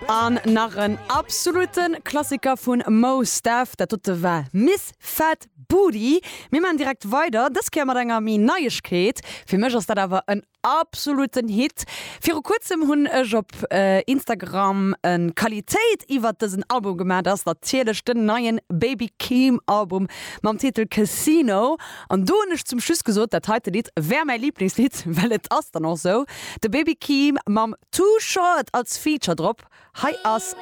An nach en absolute Klassiker vun Mos Def, dat dote war Miss Fat Booty. Mir maachen direkt weider, dës Kéier mat enger méi Neiegkeet. Fir mech ass dat awer en absoluten Hit. Viru kuerzem hunn ech op Instagram en Qualitéit iwwert dësen Album gemaach. Dat ass natierlech den neien Baby Keem Album mam Titel Casino. An do hunn ech zum Schluss gesot, dat heite Lidd wär mäi Liblingslidd, well et ass dann och sou. De Baby Keem mam Too Short als Feature drop. Hei ass.